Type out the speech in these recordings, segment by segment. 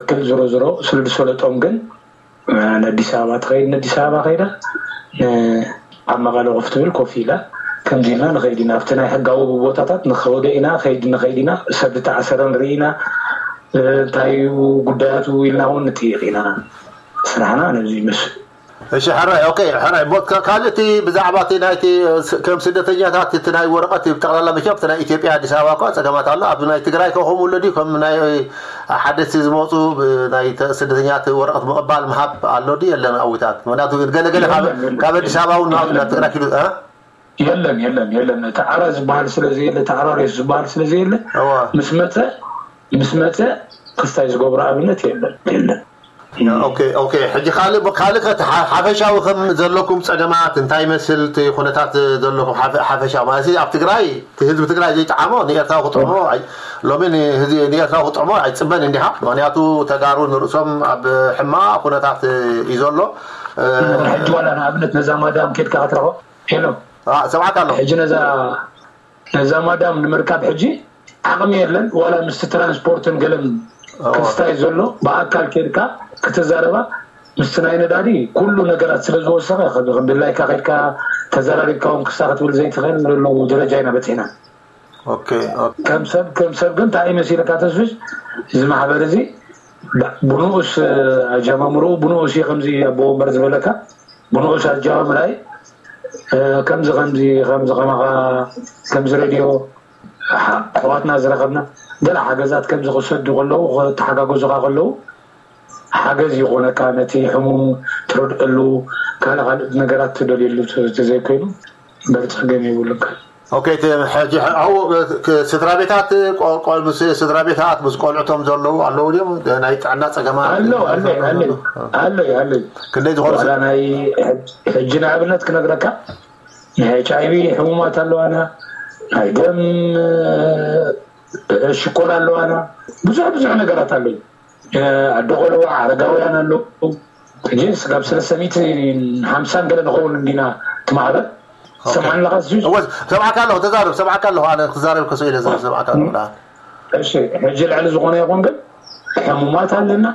ክል ዝሮ ዝሮ ስሉድ ሰለጦም ግን ንኣዲስ ኣበባ ትኸይድ፣ ንኣዲስ ኣበባ ከይዳ ኣብ መቐለ ኮፍ ትብል ኮፍ ኢላ ከምዚ ኢልና ንኸይድ ኢና። ኣብቲ ናይ ሕጋዊ ቦታታት ንኸወደ ኢና፣ ከይድ ንኸይድ ኢና። ሰብ ዝተኣሰረ ንርኢ ኢና። እንታይ እዩ ጉዳያቱ ኢልና እውን ንጥይቕ ኢና። ስራሕና ነዚ ይመስል። እሺ ሕራይ፣ ኦኬ፣ ሕራይ። ቦት ካልእ እቲ ብዛዕባ እቲ ናይቲ ከም ስደተኛታት እቲ ናይ ወረቐት ብጠቕላላ መቸም እቲ ናይ ኢትዮጵያ ኣዲስ ኣበባ እኳ ጸገማት ኣሎ። ኣብ ናይ ትግራይ ከ ከምኡ ኣሎ ድዩ? ከም ናይ ሓደስቲ ዝመፁ ናይ ስደተኛት ወረቐት ምቕባል ምሃብ ኣሎ ድዩ የለን? ኣዊታት ምክንያቱ ገለ ገለ ካብ ኣዲስ ኣበባ እውን ናብ ትግራይ ኪዱ የለን የለን የለን። እቲ ዓራ ዝበሃል ስለ ዘየለ፣ እቲ ዓራ ሬስ ዝበሃል ስለ ዘየለ ምስ መፀ ምስ መፀ ክስታይ ዝገብሮ ኣብነት የለን የለን። ኦኬ ኦኬ። ሕጂ ካልእ ካልእ ከ ሓፈሻዊ ከም ዘለኩም ጸገማት እንታይ ይመስል እቲ ኩነታት ዘለኩም ሓፈሻዊ ማለት ኣብ ትግራይ እቲ ህዝቢ ትግራይ ዘይጠዓሞ ንኤርትራዊ ክጥዕሞ ሎሚ ንኤርትራዊ ክጥዕሞ ኣይጽበን እንዲኻ። ምክንያቱ ተጋሩ ንርእሶም ኣብ ሕማቕ ኩነታት እዩ ዘሎ። ሕጂ ዋላ ንኣብነት ነዛ ማዳም ኬድካ ክትረኽቦ ሄሎ ሰብዓካ ኣሎ ሕጂ ነዛ ነዛ ማዳም ንምርካብ ሕጂ ዓቕሚ የለን። ዋላ ምስቲ ትራንስፖርትን ገለን ክስታይ ዘሎ ብኣካል ኬድካ ክትዛረባ ምስቲ ናይ ነዳዲ ኩሉ ነገራት ስለ ዝወሰኸ ድላይካ ከድካ ተዘራሪብካ እውን ክሳ ክትብል ዘይትኽእል ዘለዉ ደረጃ ኢና በፂሕና። ከም ሰብ ከም ሰብ ግን እንታይ መሲለካ ተስፍሽ እዚ ማሕበር እዚ ብንኡስ ኣጀማምርኡ ብንኡስ እዩ ከምዚ ኣቦ ወንበር ዝበለካ ብንኡስ ኣጀማምራይ ከምዚ ከምዚ ከምዚ ከማኻ ከምዚ ሬድዮ ኣሕዋትና ዝረኸብና ገለ ሓገዛት ከምዚ ክሰዱ ከለዉ ክተሓጋገዙኻ ከለዉ ሓገዝ ይኾነካ ነቲ ሕሙም ትረድአሉ ካልእ ካልእ ነገራት ትደልየሉ ተዘይኮይኑ በርፀገም የብሉካ። ኦኬ፣ እቲ ሕጂ ኣብኡ ስድራ ቤታት ምስ ስድራ ቤታት ምስ ቆልዕቶም ዘለዉ ኣለዉ ድዮም? ናይ ጥዕና ጸገማት ኣለዉ ኣለዩ ኣለዩ ኣለዩ ኣለዩ። ክንደይ ዝኾኑ ዋላ ናይ ሕጂ ንኣብነት ክነግረካ ናይ ኤች ኣይቪ ሕሙማት ኣለዋና፣ ናይ ደም ሽኮር ኣለዋና፣ ብዙሕ ብዙሕ ነገራት ኣለዩ። ኣዶ ቆልዑ ኣረጋውያን ኣለዉ። ሕጂ ስጋብ ሰለስተ ሚእቲ ሓምሳን ገለ ንኸውን እንዲና እቲ ማሕበር ትሰምዓኒ ኣለኻ? እወ ሰምዓካ ኣለኹ፣ ተዛረብ፣ ሰምዓካ ኣለኹ። ኣነ ክዛረብ ከስኡ ኢለ ዝብል ሰምዓካ ኣለኹ። ደሓን። እሺ፣ ሕጂ ልዕሊ ዝኾነ ይኹን ግን ሕሙማት ኣለና፣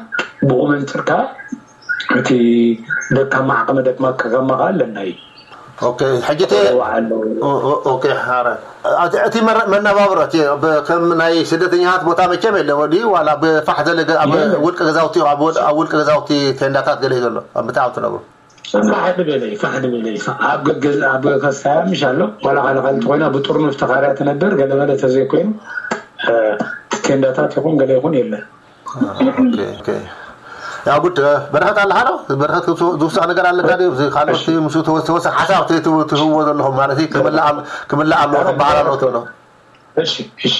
ብኡ መንፅር ከዓ እቲ ደካማ ዓቕሚ ደክማ ከጋማ ከዓ ኣለና እዩ። ኦኬ፣ ሕጂ እቲ ኣለዉ። ኦ- ኦ- ኦኬ፣ ሓረ። እቲ እቲ መረ- መነባብሮ እቲ ብ- ከም ናይ ስደተኛታት ቦታ መቸም የለ ወዲ ዋላ ብፋሕ ዘለ ገ- ኣብ የለ። ውልቂ ገዛውቲ ኣብ ወድ- ኣብ ውልቂ ገዛውቲ ቴንዳታት ገለ እዩ ዘሎ ኣብ ምትኣብ ትነብሩ። ፋሕ ዝበለ እዩ፣ ፋሕ ዝበለ እዩ። ፋ- ኣብ ገገዝ ኣብ ከስታያ ምሽ ኣሎ ዋላ ካልእ ካልእ እንተኮይና ብጥርኑፍ ተኻርያ ትነብር ገለመለ ተዘይኮይኑ እ፣ ቴንዳታት ይኹን ገለ ይኹን የለን። ኦኬ፣ ኦኬ። ያው ጉድ በረኸት ኣለኻ ዶ? በረኸት ዝውሳእ ነገር ኣለካ ድዩ? እዚ ካልኦት ምስ ተወሰ ሓሳብ ትህዎ ዘለኹም ማለት እዩ ክምላእ ኣለዎ ክበሃል ኣለዎ ትብሎ። እሺ፣ እሺ።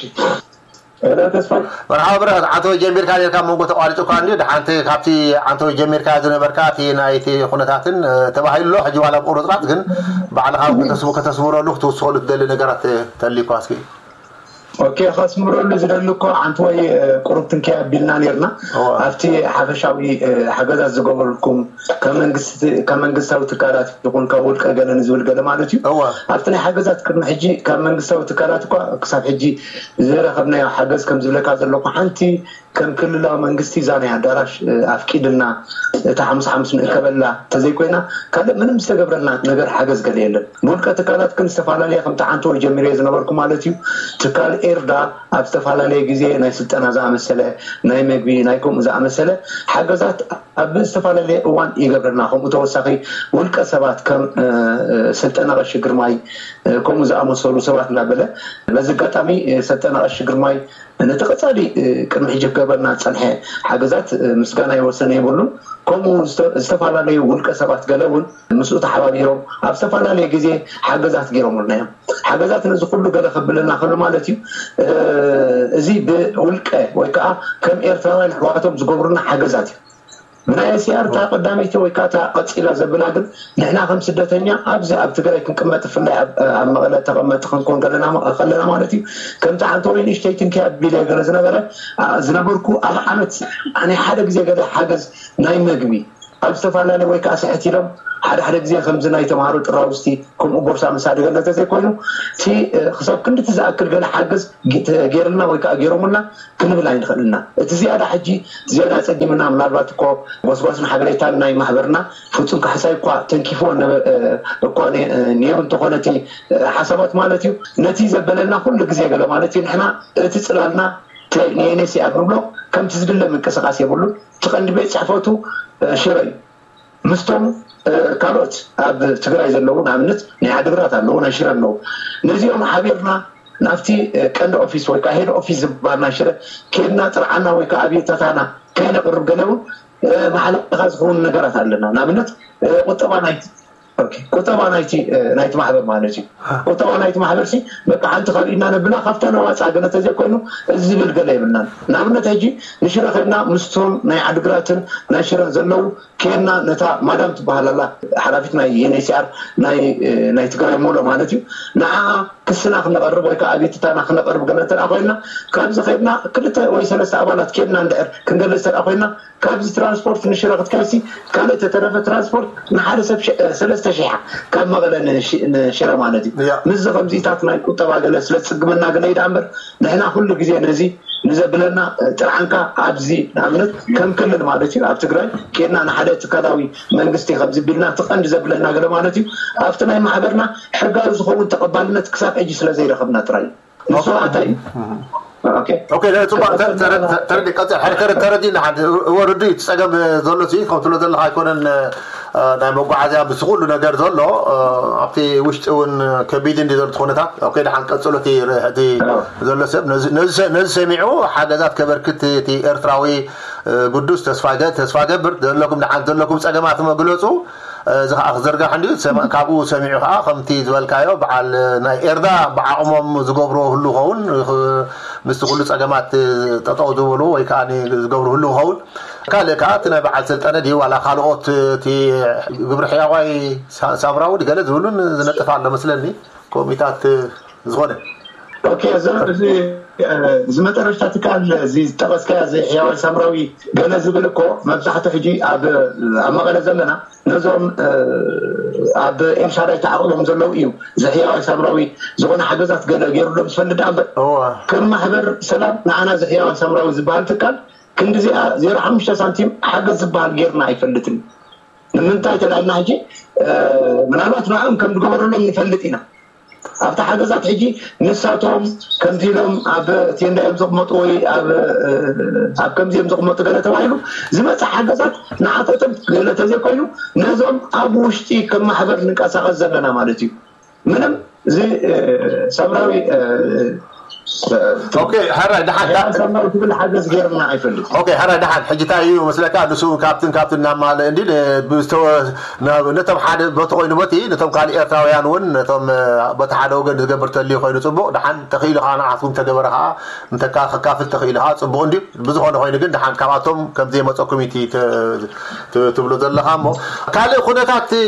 ተስፋይ መርሓባ ብረኸት፣ ዓንተወይ ጀሚርካ ኔርካ መንጎ ተቋሪጹ እኳ እንድዩ። ደሓንቲ ካብቲ ዓንተወይ ጀሚርካ ዝነበርካ እቲ ናይቲ ኩነታትን ተባሂሉ ኣሎ። ሕጂ ዋላ ቁርጥራጥ ግን ባዕልኻ ከተስምረሉ ክትውስኸሉ ትደሊ ነገራት ተልዩኳ እስኪ። ኦኬ፣ ከስምረሉ ዝደሊ እኮ ዓንተወይ ቁሩብ ትንኪ ኣቢልና ኔርና። ኣብቲ ሓፈሻዊ ሓገዛት ዝገበርኩም ካብ መንግስታዊ ትካላት ይኹን ካብ ውልቀ ገለ ንዝብል ገለ ማለት እዩ። ኣብቲ ናይ ሓገዛት ቅድሚ ሕጂ ካብ መንግስታዊ ትካላት እኳ ክሳብ ሕጂ ዝረኸብናዮ ሓገዝ ከም ዝብለካ ዘለኹ ሓንቲ ከም ክልላዊ መንግስቲ እዛ ናይ ኣዳራሽ ኣፍቂድልና እታ ሓሙስ ሓሙስ ንእከበላ እንተዘይኮይና ካልእ ምንም ዝተገብረልና ነገር ሓገዝ ገለ የለን። ብውልቀ ትካላት ግን ዝተፈላለየ ከምቲ ዓንተወይ ጀሚረዮ ዝነበርኩ ማለት እዩ ትካል ኤርዳ ኣብ ዝተፈላለየ ግዜ ናይ ስልጠና ዝኣመሰለ ናይ መግቢ ናይ ከምኡ ዝኣመሰለ ሓገዛት ኣብ ዝተፈላለየ እዋን ይገብረልና። ከምኡ ተወሳኺ ውልቀ ሰባት ከም ስልጠና ቀሺ ግርማይ ከምኡ ዝኣመሰሉ ሰባት እናበለ በዚ ኣጋጣሚ ስልጠና ቀሺ ግርማይ ነቲ ቀፃሊ ቅድሚ ሕጂ ክገብረልና ዝፀንሐ ሓገዛት ምስጋና ይወሰነ የብሉን። ከምኡ ዝተፈላለዩ ውልቀ ሰባት ገለ እውን ምስኡ ተሓባቢሮም ኣብ ዝተፈላለየ ግዜ ሓገዛት ገይሮምልና እዮም። ሓገዛት ነዚ ኩሉ ገለ ከብለና ከሎ ማለት እዩ እዚ ብውልቀ ወይ ከዓ ከም ኤርትራውያን ኣሕዋቶም ዝገብሩና ሓገዛት እዩ። ብናይ እስያር እታ ቀዳመይቲ ወይ ከዓ እታ ቀፂላ ዘብላ ግን ንሕና ከም ስደተኛ ኣብዚ ኣብ ትግራይ ክንቅመጥ ብፍላይ ኣብ መቐለ ተቐመጥቲ ክንኮን ከለና ማለት እዩ ከምቲ ዓንተወይ ንእሽተይ ትንኪ ኣቢለ ገለ ዝነበረ ዝነበርኩ ኣብ ዓመት ናይ ሓደ ግዜ ገለ ሓገዝ ናይ መግቢ ኣብ ዝተፈላለዩ ወይ ከዓ ስሕት ኢሎም ሓደ ሓደ ግዜ ከምዚ ናይ ተምሃሮ ጥራውስቲ ከምኡ ቦርሳ ምሳድ ገለ እንተዘይኮይኑ እቲ ክሳብ ክንድቲ ዝኣክል ገለ ሓገዝ ገይርልና ወይ ከዓ ገይሮምልና ክንብል ኣይንኽእልና። እቲ ዝያዳ ሕጂ ዝያዳ ጸጊምና ምናልባት እኮ ጎስጓስን ሓበሬታን ናይ ማሕበርና ፍጹም ካሕሳይ እኳ ተንኪፍዎ እኳ ነይሩ እንተኾነ እቲ ሓሳባት ማለት እዩ ነቲ ዘበለና ኩሉ ግዜ ገለ ማለት እዩ ንሕና እቲ ጽላልና ንኤንኤስኣር ንብሎ ከምቲ ዝድለ ምንቅስቃስ የብሉን። እቲ ቀንዲ ቤት ጽሕፈቱ ሽረ እዩ። ምስቶም ካልኦት ኣብ ትግራይ ዘለዉ ንኣብነት ናይ ዓድግራት ኣለዉ ናይ ሽረ ኣለዉ ነዚኦም ሓቢርና ናብቲ ቀንዲ ኦፊስ ወይ ከዓ ሄድ ኦፊስ ዝበሃል ናይ ሽረ ኬድና ጥርዓና ወይ ከዓ ኣብየታታና ከይነቅርብ ገለ እውን ማሕለኻ ዝኸውን ነገራት ኣለና ንኣብነት ቁጠባ ናይ ቁጠባ ናይቲ ናይቲ ማሕበር ማለት እዩ። ቁጠባ ናይቲ ማሕበር ሲ በቃ ሓንቲ ካብ ኢድና ነብላ ካብታ ነዋፃ ገለ ተዘይኮይኑ እዚ ዝብል ገለ የብልናን። ንኣብነት ሕጂ ንሽረ ከድና ምስቶም ናይ ዓድግራትን ናይ ሽረን ዘለዉ ከድና ነታ ማዳም ትበሃል ኣላ ሓላፊት ናይ ዩኤንኤችሲኣር ናይ ትግራይ ሙሎ ማለት እዩ ንዓ ክስና ክነቐርብ ወይ ከዓ ኣቤትታና ክነቐርብ ገለ እንተ ኮይንና ካብዚ ከድና ክልተ ወይ ሰለስተ ኣባላት ከድና እንድሕር ክንገልፅ እንተ ኮይንና ካብዚ ትራንስፖርት ንሽረ ክትከይሲ ካልእ ተተረፈ ትራንስፖርት ንሓደ ሰብ ሰለስተ ሺሕ ካብ መቐለ ንሽረ ማለት እዩ። ምስዚ ከምዚታት ናይ ቁጠባ ገለ ስለ ዝፅግመና ገለ እዩ ደኣ እምበር ንሕና ኩሉ ግዜ ነዚ ንዘብለና ጥርዓንካ ኣብዚ ንኣብነት ከም ክልል ማለት እዩ ኣብ ትግራይ ኬድና ንሓደ ትካላዊ መንግስቲ ከምዚ ቢልና እቲ ቀንዲ ዘብለና ገለ ማለት እዩ ኣብቲ ናይ ማሕበርና ሕጋዊ ዝኸውን ተቐባልነት ክሳብ ሕጂ ስለ ዘይረኸብና ጥራይ እዩ። ንሱ ኣታ እዩ። ኦኬ፣ ጽቡቅ፣ ተረዲ፣ ቀጽል፣ ሓደ ተረዲ፣ ተረዲና፣ ሓደ፣ እወ፣ ርዱእ እዩ፣ እቲ ጸገም ዘሎ፣ ሲ፣ ከም ትብሎ ዘለኻ ኣይኮነን፣ እ፣ ናይ መጓዓዝያ፣ ምስ ኩሉ ነገር ዘሎ፣ እ፣ ኣብቲ ውሽጢ እውን ከቢድ እንዲ ዘሎ እቲ ኩነታት። ኦኬ፣ ደሓን ቀጽሎ፣ እቲ፣ እቲ ዘሎ ሰብ፣ ነዚ፣ ነዚ ሰ-፣ ነዚ ሰሚዑ ሓገዛት ከበርክት፣ እቲ ኤርትራዊ፣ እ፣ ግዱስ ተስፋ ገ-፣ ተስፋ ገብር፣ ዘለኩም ደሓን፣ ዘለኩም ጸገማት መግለጹ፣ እዚ ከዓ ክዝርጋሕ እንድዩ። ሰማ-፣ ካብኡ ሰሚዑ ከዓ ከምቲ ዝበልካዮ በዓል ናይ ኤርትራ ብዓቕሞም ዝገብርዎ ህሉ ኸውን፣ ኽ-፣ ምስቲ ኩሉ ጸገማት ጠጠው ዝበሉ ወይ ከዓ ዝገብሩ ህሉ ኸውን። ካልእ ከዓ እቲ ናይ በዓል ሰልጠነ ድዩ ዋላ ካልኦት እቲ ግብሪ ሕያዋይ ሳ-፣ ሳምራዊ ድገለ ዝብሉን ዝነጥፍ ኣሎ መስለኒ። ኮሚታት ዝኾነ። ኦኬ፣ እዚ፣ እዚ፣ እ፣ እዚ መጠረሽታ ትካል እዚ ዝጠቐስካዮ እዚ ሕያዋይ ሳምራዊ ገለ ዝብል እኮ መብዛሕትኡ ሕጂ ኣብ፣ ኣብ መቐለ ዘለና ነዞም፣ እ፣ ኣብ ኤልሻዳይ ተዓቒቦም ዘለዉ እዩ። እዚ ሕያዋይ ሳምራዊ ዝኾነ ሓገዛት ገለ ገይሩሎም ዝፈልጥ ደኣ እምበር እዋ። ከም ማሕበር ሰላም ንዓና እዚ ሕያዋይ ሳምራዊ ዝበሃል ትካል ክንዲዚኣ ዜሮ ሓሙሽተ ሳንቲም ሓገዝ ዝበሃል ገይርና ኣይፈልጥን። ንምንታይ ተላልና ሕጂ፣ እ፣ ምናልባት ንዕኦም ከም ዝገበረሎም ንፈልጥ ኢና። ኣብቲ ሓገዛት ሕጂ ንሳቶም ከምዚ ኢሎም ኣብ ቴንዳ እዮም ዘቕመጡ ወይ ኣብ፣ እ፣ ኣብ ከምዚ እዮም ዘቕመጡ ገለ ተባሂሉ ዝመጽእ ሓገዛት ንዓታቶም ገለ ተዘይኮይኑ ነዞም ኣብ ውሽጢ ከም ማሕበር ንንቀሳቐስ ዘለና ማለት እዩ። ምንም እዚ፣ እ፣ ሰብራዊ፣ እ፣ እ፣ ኦኬ፣ ሕራይ፣ ደሓን፣ ሕራይ ዳ-፣ ሰብራዊ ትብል ሓገዝ ገይርና ኣይፈልጥ። ኦኬ፣ ሕራይ፣ ደሓን፣ ሕጂ እንታይ እዩ መስለካ? ንሱ እውን ካብትን ካብትን እናማለ እንዲ ን-፣ ብዝተወ-፣ ናብ፣ ነቶም ሓደ በቲ ኮይኑ በቲ፣ ነቶም ካልእ ኤርትራውያን እውን፣ ነቶም፣ እ፣ በቲ ሓደ ወገን ዝገብር ተልዩ ኮይኑ ጽቡቕ፣ ደሓን፣ ተኽኢሉ ኸዓ ንዓኹም ተገበረ ኸዓ፣ እንተካ-፣ ከካፍል ተኽኢሉ ኸዓ ጽቡቕ እንድዩ። ብዝኾነ ኮይኑ ግን፣ ደሓን፣ ካብኣቶም ከም ዘይመጸኩም እዩ እቲ ተ-፣ ት-፣ ትብሎ ዘለኻ እሞ፣ ካልእ ኩነታት፣ እ፣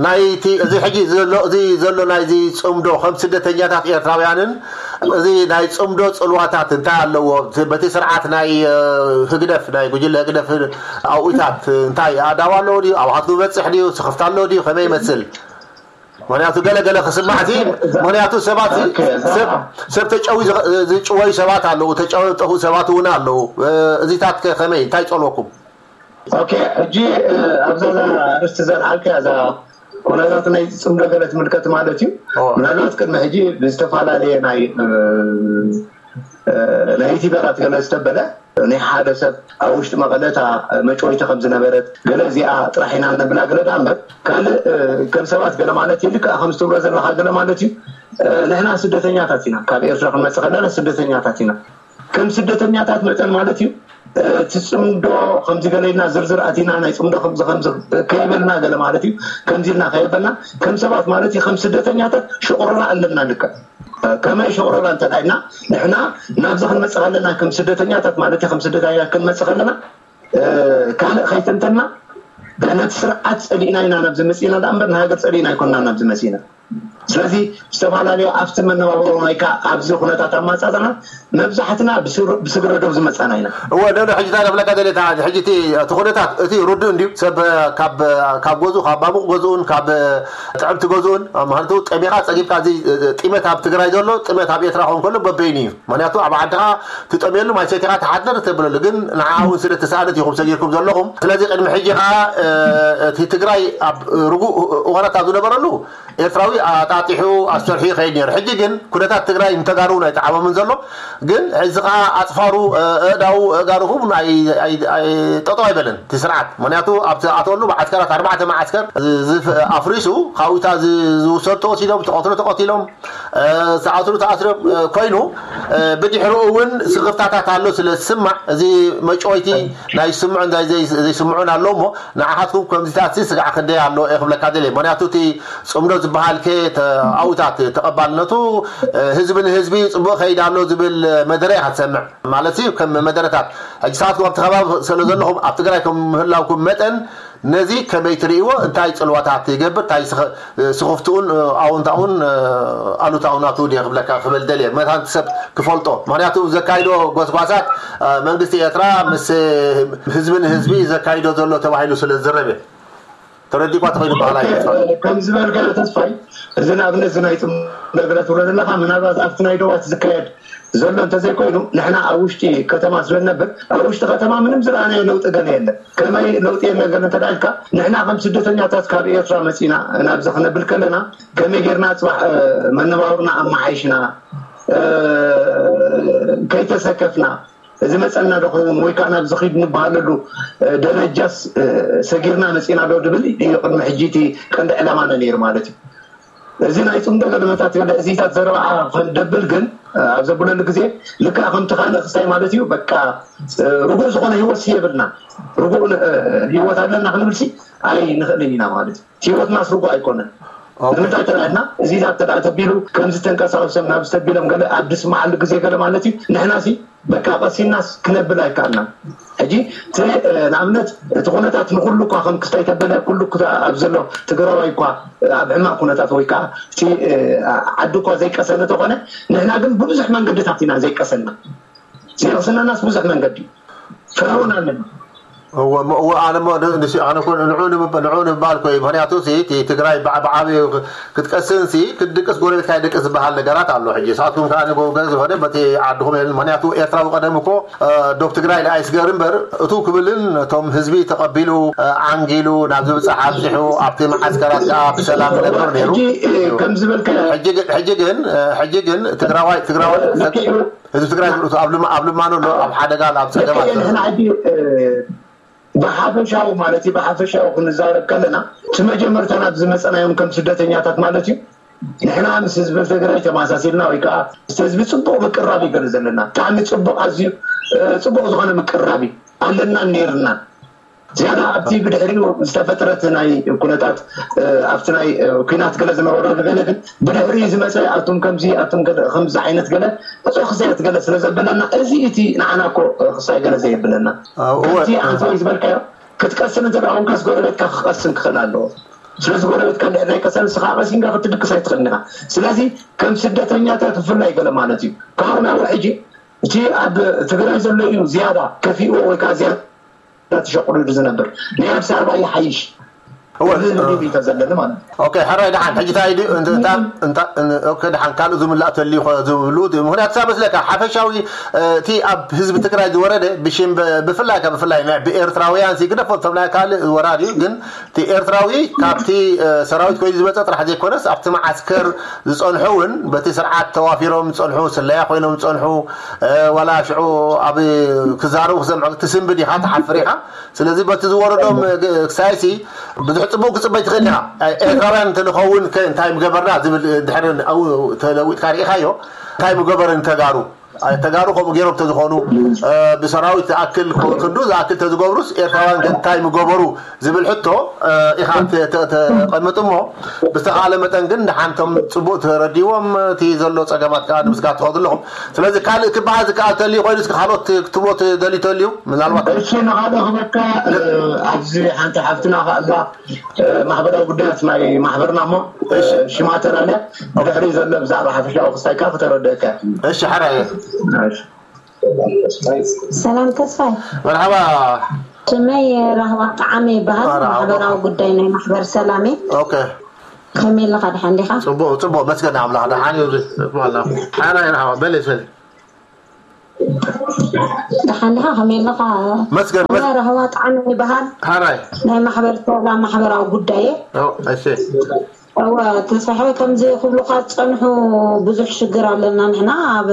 ናይቲ፣ እዚ ሕጂ ዘሎ፣ እዚ ዘሎ ናይዚ ጽምዶ፣ ከም ስደተኛታት ኤርትራውያንን፣ እዚ ናይ ጽምዶ ጽልዋታት እንታይ ኣለዎ? እቲ፣ በቲ ስርዓት ናይ፣ እ፣ ህግደፍ፣ ናይ ጉጅለ ህግደፍ ኣውኢታት እንታይ ኣዳዋ ኣለዎ ድዩ? ኣብኻትኩም ይበጽሕ ድዩ? ስኽፍታ ኣለዎ ድዩ? ከመይ ይመስል? ምኽንያቱ ገለ ገለ ክስማዕ እቲ፣ ምኽንያቱ ሰባት ሲ፣ ኦኬ፣ ሰብ፣ ሰብ ተጨዊ ዝኸ-፣ ዝጭወዩ ሰባት ኣለዉ፣ ተጨዊ ዝጠፍኡ ሰባት እውን ኣለዉ። እ፣ እዚታት ከ ከመይ? እንታይ ይጸልወኩም? ኦኬ፣ ሕጂ፣ እ፣ ኣብዛ ኣርእስቲ ዘልዓልካያ እዛ ኩነታት ናይ ጽምዶ ገለ ትምልከት ማለት እዩ። ኦ። ምናልባት ቅድሚ ሕጂ ብዝተፈላለየ ናይ፣ እ፣ እ፣ ናይ ዩቲበራት ገለ ዝተበለ ናይ ሓደ ሰብ ኣብ ውሽጢ መቐለ እታ መጭወይቲ ከም ዝነበረት ገለ እዚኣ ጥራሕ ኢና ነብላ ገለ ደኣ እምበር ካልእ፣ እ፣ ከም ሰባት ገለ ማለት እዩ። ልክዕ ከም ዝትብሎ ዘለኻ ገለ ማለት እዩ። እ፣ ንሕና ስደተኛታት ኢና። ካብ ኤርትራ ክንመጽእ ከለና ስደተኛታት ኢና። ከም ስደተኛታት መጠን ማለት እዩ። እ፣ እቲ ጽምዶ ከምዚ ገለ ኢልና ዝርዝር ኣቲና ናይ ጽምዶ ከምዚ ከምዚ ከይበልና ገለ ማለት እዩ። ከምዚ ኢልና ከይበልና ከም ሰባት ማለት እዩ። ከም ስደተኛታት ሽቕሮና ኣለና ልክዕ። እ፣ ከመይ ሽቕሮና እንተ ደኣ ኢልና ንሕና ናብዚ ክንመጽእ ከለና ከም ስደተኛታት ማለት እዩ። ከም ስደተኛታት ክንመጽእ ከለና፣ እ፣ ካልእ ከይተንተና ነቲ ስርዓት ጸሊእና ኢና ናብዚ መጺእና ደኣ እምበር ንሃገር ጸሊእና ኣይኮንና ናብዚ መጺእና። ስለዚ ዝተፈላለዩ ኣብቲ መነባብሮ ናይካ ኣብዚ ኩነታት ኣማፃፅና መብዛሕትና ብስግረ ዶብ ዝመፃና ኢና። እወ፣ ሎሎ ሕጂ እንታይ ክብለካ ደልየ፣ ሕጂ እቲ ኩነታት እቲ ርዱእ እንድዩ። ሰብ ካብ ገዝኡ፣ ካብ ማሙቕ ገዝኡን ካብ ጥዕምቲ ገዝኡን፣ ምክንያቱ ጠሚኻ ፀጊብካ፣ እዚ ጢመት ኣብ ትግራይ ዘሎ ጢመት ኣብ ኤርትራ ክኸውን ከሎ በበይኑ እዩ። ምክንያቱ ኣብ ዓድኻ ትጠምየሉ፣ ማይ ሰቲኻ ትሓድር ተብለሉ፣ ግን ንዓ እውን ስለ ተሳእነት ኢኹም ሰጊርኩም ዘለኹም። ስለዚ ቅድሚ ሕጂ ከዓ እቲ ትግራይ ኣብ ርጉእ እዋናት ኣብ ዝነበረሉ ኤርትራዊ ኣጣጢሑ ኣስተርሑ ይኸይድ ነይሩ። ሕጂ ግን ኩነታት ትግራይ ንተጋሩ ናይ ጠዓሞምን ዘሎ፣ ግን እዚ ከዓ ኣፅፋሩ፣ ኣእዳው፣ ኣእጋሩ ክቡን ጠጠው ኣይበለን እቲ ስርዓት። ምክንያቱ ኣብቲ ኣተወሉ መዓስከራት ኣርባዕተ መዓስከር ኣፍሪሱ፣ ካብኡታ ዝውሰዱ ተወሲዶም፣ ተቐትሉ ተቐቲሎም፣ ዝኣስሩ ተኣስሮም ኮይኑ፣ ብድሕሪኡ እውን ስኽፍታታት ኣሎ ስለ ዝስማዕ፣ እዚ መጨወይቲ ናይ ዝስምዑን ዘይስምዑን ኣሎ እሞ፣ ንዓኻትኩም ከምዚታት ስጋዕ ክንደይ ኣሎ እየ ክብለካ ደልየ። ምክንያቱ እቲ ፅምዶ ዝበሃል ከ ኣብኡታት ተቐባልነቱ ህዝቢ ንህዝቢ ፅቡቕ ከይድ ኣሎ ዝብል መደረ ኢኻ ትሰምዕ ማለት እዩ። ከም መደረታት ሕጂ ንስኻትኩም ኣብቲ ከባቢ ስለ ዘለኹም፣ ኣብ ትግራይ ከም ምህላውኩም መጠን ነዚ ከመይ ትርእይዎ? እንታይ ፅልዋታት ይገብር? እንታይ ስኽፍትኡን ኣውንታኡን ኣሉታኡ ናቱ ድየ ክብለካ ክብል ደልየ፣ መታን ሰብ ክፈልጦ። ምክንያቱ ዘካይዶ ጎስጓሳት መንግስቲ ኤርትራ ምስ ህዝቢ ንህዝቢ ዘካይዶ ዘሎ ተባሂሉ ስለ ዝዝረብ እየ። ተረዲእኳ ተኸይኑ በሃላይ። ከም ዝበልካዮ ተስፋይ፣ እዚ ንኣብነት እዚ ናይ ፅምዶ ገለ ትብሎ ዘለካ ምናልባት ኣብቲ ናይ ዶባት ዝካየድ ዘሎ እንተዘይኮይኑ፣ ንሕና ኣብ ውሽጢ ከተማ ስለ ንነብር ኣብ ውሽጢ ከተማ ምንም ዝረኣናዮ ለውጢ ገለ የለን። ከመይ ለውጢ የለን ገለ እንተዳልካ፣ ንሕና ከም ስደተኛታት ካብ ኤርትራ መፂና ናብዚ ክነብል ከለና ከመይ ጌርና ፅባሕ መነባብርና ኣመሓይሽና፣ ከይተሰከፍና፣ እዚ መፀና ዶ ክኸውን ወይ ከዓ ናብ ዝኺድ ንበሃለሉ ደረጃስ ሰጊርና መፂና ዶ ድብል እዩ ቅድሚ ሕጂ እቲ ቀንዲ ዕላማና ነይሩ ማለት እዩ። እዚ ናይ ፅምዶ ገለመታት ገለ እዚታት ዘረባዓ ክንደብል ግን ኣብ ዘብለሉ ግዜ ልክዕ ከምቲ ካልእ ክሳይ ማለት እዩ። በቃ ርጉእ ዝኾነ ህይወት የብልና። ርጉእ ህይወት ኣለና ክንብልሲ ኣይንኽእልን ኢና ማለት እዩ። ህይወትናስ ርጉእ ኣይኮነን። ንምንታይ ተላልና እዚታት ተዳ ተቢሉ ከምዚ ተንቀሳቀሶም ናብ ዝተቢሎም ገለ ኣብ ድስማዓሉ ግዜ ገለ ማለት እዩ። ንሕና ሲ በቃ ቀሲናስ ክነብል ኣይከኣልናን። ሕጂ እቲ ንኣብነት እቲ ኩነታት ንኩሉ እኳ ከም ክስታይ ተበለ ኩሉ ኣብ ዘሎ ትግራዋይ እኳ ኣብ ሕማቅ ኩነታት ወይ ከዓ እቲ ዓዲ እኳ ዘይቀሰነ ተኾነ ንሕና ግን ብብዙሕ መንገድታት ኢና ዘይቀሰና። ዘይቅስነናስ ብዙሕ መንገዲ ፍረ እውን ኣለና። እወ እሞ እወ ኣነ እሞ ን- ንስ- ኣነ እኮ ንዑ ንምብ- ንዑ ንምባል እኮ እዩ። ምክንያቱ ሲ እቲ ትግራይ ብዓ- ብዓብዩ ክ- ክትቀስን ሲ ክትድቅስ ጎረቤትካ ይድቅስ ዝበሃል ነገራት ኣሎ። ሕጂ ንስኻትኩም ከዓ ንጎ- ገለ ዝኾነ በቲ ዓድኹም የለን። ምክንያቱ ኤርትራዊ ቀደም እኮ እ፣ ዶብ ትግራይ ንኣይስገር እምበር እቱ ክብልን እቶም ህዝቢ ተቐቢሉ እ፣ ዓንጊሉ ናብ ዝብፃሕ ኣብዚሑ ኣብቲ መዓስከራት ከዓ ብሰላም ይነብር ነይሩ። ሕጂ እ፣ ከም ዝበልካዮ ሕጂ ግን ሕጂ ግን እ፣ ሕጂ ግን ትግራዋይ ትግራዋይ ልክዕ እዩ። ህዝቢ ትግራይ ዝርእቱ ኣብ ልማ- ኣብ ልማኖ ኣሎ፣ ኣብ ሓደጋ ኣሎ፣ ኣብ ጸገም ኣሎ። ልክዕ እዩ። ንሕና ሕጂ እ፣ ብሓፈሻዊ ማለት እዩ፣ ብሓፈሻዊ ክንዛረብ ከለና እቲ መጀመርታ ናብ ዝመፀናዮም ከም ስደተኛታት ማለት እዩ። ንሕና ምስ ህዝቢ ትግራይ ተመሳሲልና ወይ ከዓ ምስ ህዝቢ ፅቡቅ ምቅራብ እዩ ገለ ዘለና። ብጣዕሚ ፅቡቅ፣ ኣዝዩ እ፣ ፅቡቅ ዝኾነ ምቅራብ እዩ ኣለናን ነይርናን። ዝያዳ ኣብቲ ብድሕሪኡ ዝተፈጥረት ናይ ኩነታት እ፣ ኣብቲ ናይ እ፣ ኲናት ገለ ዝነበሮ ገለ ግን ብድሕሪኡ ዝመፀ ኣቱም ከምዚ ኣቱም ገለ ከምዚ ዓይነት ገለ እዞ ክሳያት ገለ ስለ ዘበለና እዚ እቲ ንዓና እኮ እ፣ ክሳይ ገለ ዘየብለና ኣው፣ እወ። ከምዚ ኣንተ ዝበልካዮ ክትቀስን እንተ ደኣ ኮንካስ ጎረቤትካ ክቐስን ክኽእል ኣለዎ። ስለዚ ጎረቤትካ እንድሕር ናይ ቀሰን ንስኻ ቀሲንካ ክትድቅስ ኣይትኽእልን ኢኻ። ስለዚ ከም ስደተኛታት ብፍላይ ገለ ማለት እዩ። ካብኡ ናብ ሕጂ እቲ ኣብ ትግራይ ዘሎ እዩ ዝያዳ ከፊእዎ ወይ ከዓ ዝያዳ ተሸቁሉ ዝነብር ናይ ኣዲስ ኣበባ ይሓይሽ እወ። ዝብል ድዩ እንተ ዘለኒ ማለት እዩ። ኦኬ፣ ሕራይ ደሓን። ሕጂ እንታይ ድዩ? እንተ- እንታ- እንታ- ን- ኦኬ፣ ደሓን ካልእ ዝምላእ ተልዩ ኸ ዝብሉ ድዩ? ምክንያቱ ሳ መስለካ ሓፈሻዊ እ፣ እቲ ኣብ ህዝቢ ትግራይ ዝወረደ ብሽም ብ- ብፍላይ ካብ ብፍላይ ናይ ብኤርትራውያን ሲ ግደፎ እቶም ናይ ካልእ ወራር እዩ። ግን እቲ ኤርትራዊ ካብቲ እ፣ ሰራዊት ኮይኑ ዝመፀ ጥራሕ ዘይኮነስ ኣብቲ መዓስከር ዝፀንሑ እውን በቲ ስርዓት ተዋፊሮም ዝፀንሑ ስለያ ኮይኖም ዝፀንሑ እ፣ ዋላ ሽዑ ኣብ ክዛረቡ ክሰምዑ ትስንብድ ኢኻ ትሓፍር ኢኻ። ስለዚ በቲ ዝወረዶም እ፣ ግ- ክሳይሲ ብዙሕ ፅቡቅ ክፅበይ ትኽእል ኢኻ። እ፣ ኤርትራውያን እንተንኸውን ከ እንታይ ምገበርና ዝብል እ፣ ድሕሪ ኣብኡ ተለዊጥካ ርኢኻዮ እንታይ ምገበርን ተጋሩ ተጋሩ ከምኡ ገይሮም ተዝኾኑ፣ ብሰራዊት ዝኣክል ክንዱ ዝኣክል ተዝገብሩስ ኤርትራውያን ገንታይ ምገበሩ ዝብል ሕቶ ኢኻ ተቐምጥ እሞ፣ ብዝተኻለ መጠን ግን ንሓንቶም ጽቡቕ ተረዲዎም እቲ ዘሎ ጸገማት ከዓ ንምስጋር ትኸዱ ኣለኹም። ስለዚ ካልእ ክበሃል ዝከኣል ተልዩ ኮይኑ እስኪ ካልኦት ክትብሎ ትደልዩ ተልዩ ምናልባት? እሺ፣ ንኻልእ ክበካ ኣብዚ ሓንቲ ሓፍትና ከኣላ ማሕበራዊ ጉዳያት ናይ ማሕበርና እሞ ሽማ ተላለ ብድሕሪ ዘሎ ብዛዕባ ሓፈሻዊ ክስታይ ከዓ ከተረድእካ። እሺ፣ ሓራይ። ሰላም ተስፋይ። መርሓባ። ሽመይ ራህዋ ጣዓመ ይበሃል። ማሕበራዊ ጉዳይ ናይ ማሕበር ሰላሜ። ኦኬ። ከመይ ኣለኻ? ደሓን ዲኻ? ጽቡቕ፣ ጽቡቕ፣ መስገን ኣምላኽ። ደሓን እዩ። ሓራይ ራህዋ በለ ሰል። ደሓን ዲኻ? ከመይ ኣለኻ? መስገን። ራህዋ ጣዓመ ይበሃል። ሓራይ። ናይ ማሕበር ሰላም ማሕበራዊ ጉዳይ። እሺ። እወ ተስፋ ሓወይ፣ ከምዚ ክብሉኻ ዝጸንሑ ብዙሕ ሽግር ኣለና። ንሕና ኣብ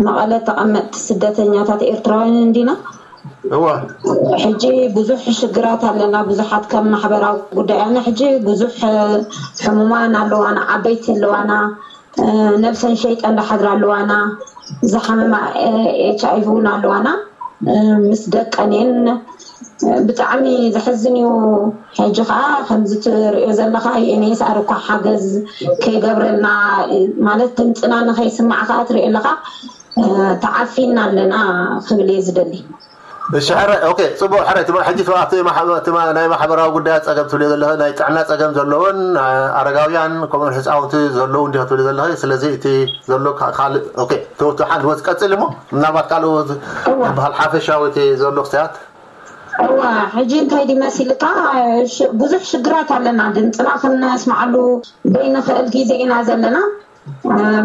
መቐለ ተቐመጥቲ ስደተኛታት ኤርትራውያን እንዲና። እወ ሕጂ ብዙሕ ሽግራት ኣለና። ብዙሓት ከም ማሕበራዊ ጉዳይ ኣነ ሕጂ ብዙሕ ሕሙማን ኣለዋና፣ ዓበይቲ ኣለዋና፣ ነብሰን ሸይጠን ዝሓድራ ኣለዋና፣ ዝሓመማ ኤች ኣይ ቪ እውን ኣለዋና። ምስ ደቀን እየን። ብጣዕሚ ዘሕዝን እዩ። ሕጂ ከዓ ከምዚ ትሪኦ ዘለኻ ዩኤንኤስኣር እኳ ሓገዝ ከይገብረልና ማለት ድምፅና ንኸይስማዕ ከዓ ትሪኦ ኣለኻ ተዓፊና ኣለና ክብል እየ ዝደሊ። እሺ ሕራይ ኦኬ ጽቡቅ ሕራይ ትማ ሕጂ ትማ ኣብቲ ማሕበ- ትማ ናይ ማሕበራዊ ጉዳያት ጸገም ትብልዮ ዘለኺ ናይ ጥዕና ጸገም ዘለዎን ኣረጋውያን ከምኡውን ህፃውንቲ ዘለዉ እንዲኹ ትብሊ ዘለኺ ስለዚ እቲ ዘሎ ካ- ካልእ ኦኬ ተወቱ ሓንቲ ወስ ቀጽል እሞ ምናልባት ካልእ ዝበሃል ሓፈሻዊ እቲ ዘሎ ክስታት እዋ ሕጂ እንታይ ድዩ መሲልካ ብዙሕ ሽግራት ኣለና ድምፅና ክንስማዓሉ ዘይንኽእል ግዜ ኢና ዘለና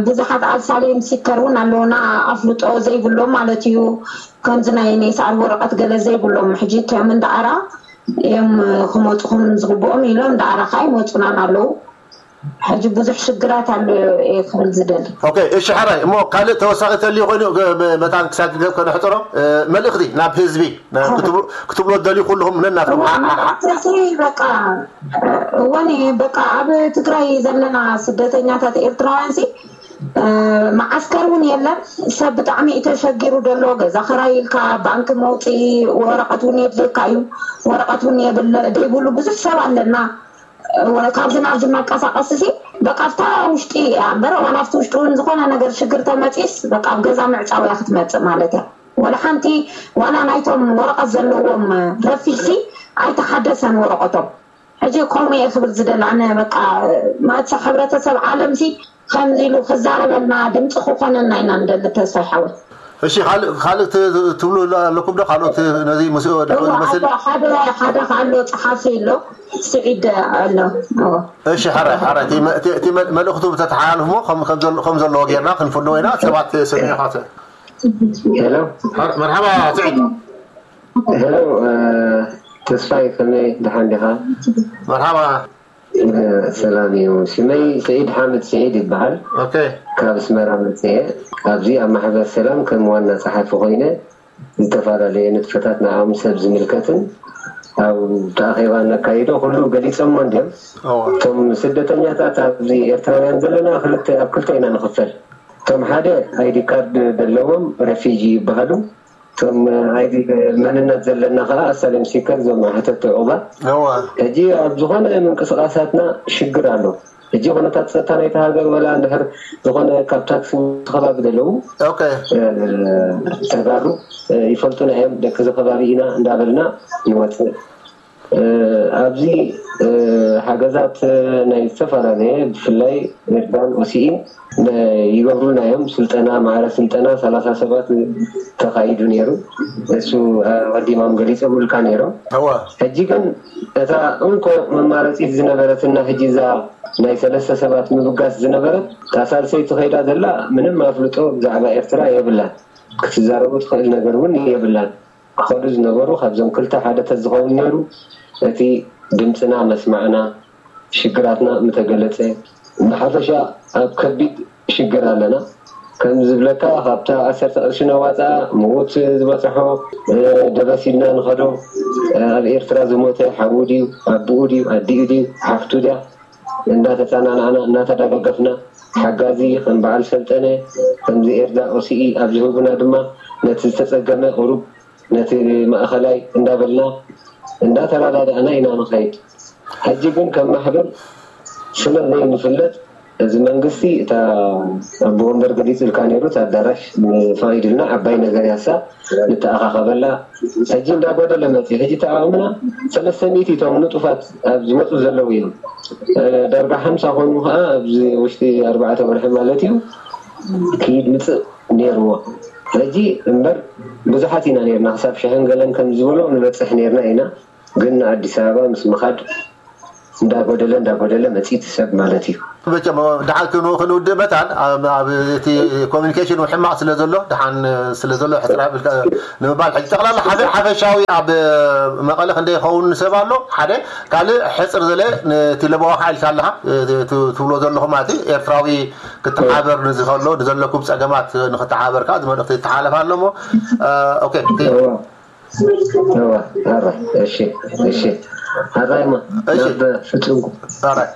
ብዙሓት ኣልሳሌም ሲከር እውን ኣለውና ኣፍልጦ ዘይብሎም ማለት እዩ ከምዚ ናይ ኔሳር ወረቐት ገለ ዘይብሎም ሕጂ እቶም እንዳኣራ እዮም ክመፁኹም ዝግብኦም ኢሎም እንዳኣራ ከዓ ይመፁናን ኣለዉ ሕጂ ብዙሕ ሽግራት ኣሎ እየ ክብል ዝደሊ ኦኬ እሺ ሕራይ እሞ ካልእ ተወሳኺ ተልዩ ኮይኑ መታን ክሳብ ገብ ከነሕፅሮ መልእኽቲ ናብ ህዝቢ ክትብሎ ደልዩ ኩልኹም ነናትኩም በቃ እወን በቃ ኣብ ትግራይ ዘለና ስደተኛታት ኤርትራውያን ሲ መዓስከር እውን የለን ሰብ ብጣዕሚ እዩ ተሸጊሩ ዘሎ ገዛ ክራይ ኢልካ ባንክ መውፅኢ ወረቀት እውን የድልየካ እዩ ወረቀት እውን የብል ዘይብሉ ብዙሕ ሰብ ኣለና ካብዚ ናብዚ መንቀሳቀሲ ሲ በቃ ኣብታ ውሽጢ እያ እምበር ዋላ ኣብቲ ውሽጢ እውን ዝኾነ ነገር ሽግር ተመፂስ በቃ ኣብ ገዛ ምዕፃው እያ ክትመፅእ ማለት እያ ወላ ሓንቲ ዋላ ናይቶም ወረቐት ዘለዎም ረፊድሲ ኣይተሓደሰን ወረቐቶም ሕጂ ከምኡ እየ ክብል ዝደሊ ኣነ በቃ ማእቲ ሕብረተሰብ ዓለምሲ ከምዚ ኢሉ ክዛረበልና ድምፂ ክኾነና ኢና ንደሊ ተስፋ ይሓወይ እሺ ካልእ ካልእ ትብሉ ኣለኩም ዶ ካልኦት ነዚ ምስኡ ድዑ ዝመስል ሓደ ሓደ ኣሎ ፀሓፊ ኣሎ ስዒድ ኣሎ እሺ ሓራይ ሓራይ እቲ መልእኽቱ ተተሓላልፍሞ ከም ዘለዎ ጌርና ክንፍንዎ ኢና ሰባት ሰሚዑ ካተ ሄሎ መርሓባ ስዒድ ሄሎ ተስፋይ ከመይ ደሓን ዲኻ መርሓባ ሰላም እዩ ሽመይ ስዒድ ሓምድ ስዒድ ይበሃል ካብ ኣስመራ መፅአ ኣብዚ ኣብ ማሕበር ሰላም ከም ዋና ፀሓፊ ኮይነ ዝተፈላለየ ንጥፈታት ንዓም ሰብ ዝምልከትን ኣብ ተኣኼባ ነካይዶ ኩሉ ገሊፆሞ እንዲዮም እቶም ስደተኛታት ኣብዚ ኤርትራውያን ዘለና ክልተ ኣብ ክልተ ኢና ንኽፈል እቶም ሓደ ኣይዲ ካርድ ዘለዎም ረፊጂ ይበሃሉ እቶም ኣይዲ መንነት ዘለና ከዓ ኣሳልም ሲከር እዞም ሓተቲ ዑባ ሕጂ ኣብ ዝኾነ ምንቅስቃሳትና ሽግር ኣሎ ሕጂ ኩነታት ፀጥታ ናይቲ ሃገር ወላ እንድሕር ዝኾነ ካብ ታክሲ ከባቢ ዘለዉ ተጋሩ ይፈልጡና እዮም ደቂ እዚ ከባቢ ኢና እንዳበልና ንወፅእ ኣብዚ ሓገዛት ናይ ዝተፈላለየ ብፍላይ ኤርትራን ኦሲኢን ይገብሩልና እዮም ስልጠና ማዕረ ስልጠና ሰላሳ ሰባት ተኻይዱ ነይሩ እሱ ኣቀዲሞም ገሊፆምልካ ነይሮም ሕጂ ግን እታ እንኮ መማረፂት ዝነበረትና ሕጂ እዛ ናይ ሰለስተ ሰባት ምብጋስ ዝነበረት እታ ሳልሰይቲ ከይዳ ዘላ ምንም ኣፍልጦ ብዛዕባ ኤርትራ የብላን ክትዛረቦ ትኽእል ነገር እውን የብላን ክኸዱ ዝነበሩ ካብዞም ክልተ ሓደ ተዝኸውን ነይሩ እቲ ድምፅና መስማዕና ሽግራትና ምተገለፀ ብሓፈሻ ኣብ ከቢድ ሽግር ኣለና ከም ዝብለካ ካብታ ዓሰርተ ቅርሺ ነዋፃ ምዉት ዝበፅሖ ደበስ ኢልና ንኸዶ ኣብ ኤርትራ ዝሞተ ሓዉ ድዩ ኣቦኡ ድዩ ኣዲኡ ድዩ ሓፍቱ ድያ እንዳተጸናናዕና፣ እናተደጋገፍና፣ ሓጋዚ ከም በዓል ሰልጠነ፣ ከምዚ ኤርትራ ኦሲኢ ኣብ ዝህቡና ድማ፣ ነቲ ዝተጸገመ ቁሩብ፣ ነቲ ማእኸላይ እንዳበልና፣ እንዳተረዳዳእና ኢና ንኸይድ። ሕጂ ግን ከም ማሕበር ስለ ዘይንፍለጥ፣ እዚ መንግስቲ፣ እታ ኣቦ ወንበር ገሊጹልካ ነይሩ፣ እቲ ኣዳራሽ ፈቒዱልና፣ ዓባይ ነገር ያሳ ንተኣኻኸበላ። ሕጂ እንዳጎደለ መጽዩ። ሕጂ ተኣኻኽብና፣ ሰለስተ ሚእቲ እቶም ንጡፋት ኣብ ዝመጹ ዘለዉ እዮም። እ፣ ዳርጋ ሓምሳ ኮኑ ከኣ ኣብዚ ውሽጢ ኣርባዕተ ወርሒ ማለት እዩ፣ ክይድ ምጽእ ነይርዎ። ሕጂ እምበር ብዙሓት ኢና ነይርና፣ ክሳብ ሽሕን ገለን ከም ዝበሎ ንበጽሕ ነይርና ኢና። ግን ንኣዲስ ኣበባ ምስ ምኻድ እንዳጎደለ እንዳጎደለ መጺእ እቲ ሰብ ማለት እዩ። መቸም ደሓን ክንው-፣ ክንውድእ መታን ኣብ፣ ኣብ እቲ ኮሚኒኬሽን እውን ሕማቕ ስለ ዘሎ፣ ደሓን ስለ ዘሎ ሕጽር ኣቢልካ ንምባል። ሕጂ ጠቕላላ ሓደ ሓፈሻዊ ኣብ መቐለ ክንደይ ይኸውን ሰብ ኣሎ? ሓደ ካልእ ሕጽር ዘለ ነቲ ለበዋ ኢልካ ኣለኻ፣ እ፣ ት-፣ ትብሎ ዘለኹም ማለት እዩ። ኤርትራዊ ክተሓበር ንዝኸሎ ንዘለኩም ጸገማት ንክተሓበር ከኣ እዚ መልእኽቲ ይተሓላለፍ ኣሎ እሞ፣ እ፣ ኦኬ፣ እቲ እዋ፣ እዋ፣ ኣረ፣ እሺ፣ እሺ። ኣራይማ፣ እሺ። ናብ ፍጹም። ኣራይ።